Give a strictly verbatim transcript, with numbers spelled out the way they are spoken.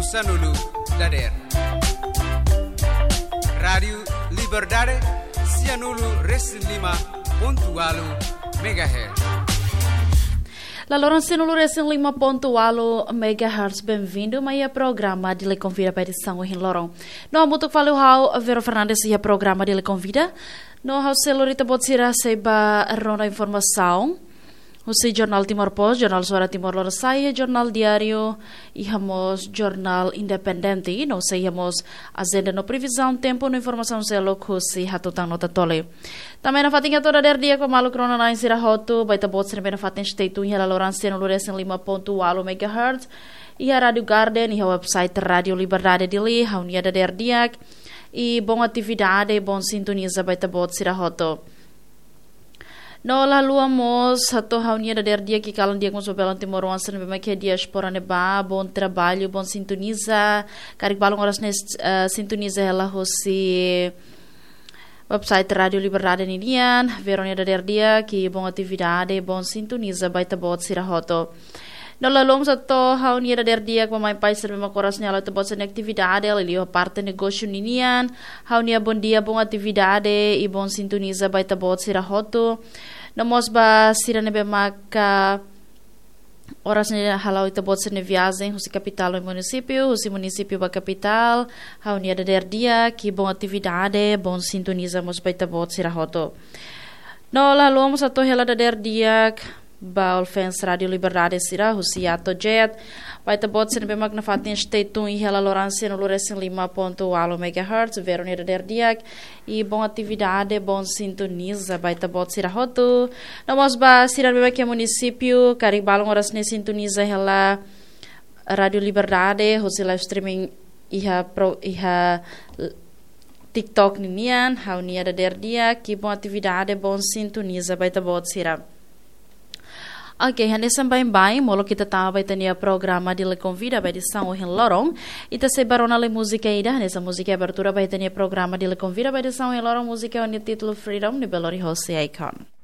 Sanulu dader. Rádiu Liberdade, sianulu resin lima pontu walu megahertz. Laloran sianulu resin lima pontu walu megahertz, benvindu mai iha programa Dili Konvida ba edisaun ohin loron. No mutuk falu hau Vero Fernandes iha programa Dili Konvida. No ha'u sei lori ita-boot sira sei ba ronda informasaun husi jornál Timor Post, jornál Suara Timor Lorosa'e, jornál Diáriu, iha mós jornál Independente, no sei iha mós ajenda no previzaun tempu no informasaun seluk husi hatutan nota tole. Tanba ne'e nafatin hato'o dader di'ak ba maluk rona-na'in sira hotu, ba ita-boot sira ne'ebé nafatin stay tune iha laloran sianulu resin lima pontu walu megahertz, iha Rádiu Garden, iha website Rádiu Liberdade Dili, ha'u-nia dader di'ak, i bom atividade, bom sintoniza ba ita-boot sira hotu. No la haluha mós hato'o ha'u-nia dader di'ak i kalan di'ak mós ba belun timoroan sira ne'ebé mak iha diáspora ne'ebá, bom trabalho, bom sintoniza, karik balun oras ne'e, eh, sintoniza hela husi website Rádiu Liberdade ninian, Vero nia dader di'ak i bom atividade, bom sintoniza ba ita-boot sira hotu. No la haluha mós hato'o ha'u-nia dader di'ak ba mãe pai sira ne'ebé mak oras ne'e hala'o ita-boot sira-nia atividade, liuliu parte negósiu ninian, ha'u-nia bom dia, bom atividade i bom sintoniza ba ita-boot sira hotu. No mós ba sira ne'ebé maka oras ne'e hala'o ita-boot sira-nia viajen husi kapitál ba munisípiu, husi munisípiu ba kapitál, ha'u-nia dader di'ak i bom atividade, bom sintoniza mós ba ita-boot sira hotu. No la haluha mós hato'o hela dader di'ak ba all fans Rádiu Liberdade sira, husi A to Z, ba ita-boot sira ne'ebé mak nafatin stay tune iha laloran sianulu resin lima pontu walu megahertz, Vero nia dader di'ak, i bom atividade, bom sintoniza ba ita-boot sira hotu. No mós ba sira ne'ebé mak iha munisípiu, karik balun oras ne'e sintoniza hela Rádiu Liberdade, husi live streaming iha pro-, iha TikTok ninian, ha'u-nia dader di'ak i bom atividade, bom sintoniza ba ita-boot sira. Ok, hanesan baibain, molok ita tama ba ita-nia programa Dili Konvida ba edisaun ohin loron. Ita sei ba rona lai múzika ida, hanesan múzika abertura ba ita-nia programa Dili Konvida ba edisaun ohin loron, múzika ho nia títulu Freedom, ne'ebé lori hosi Akon.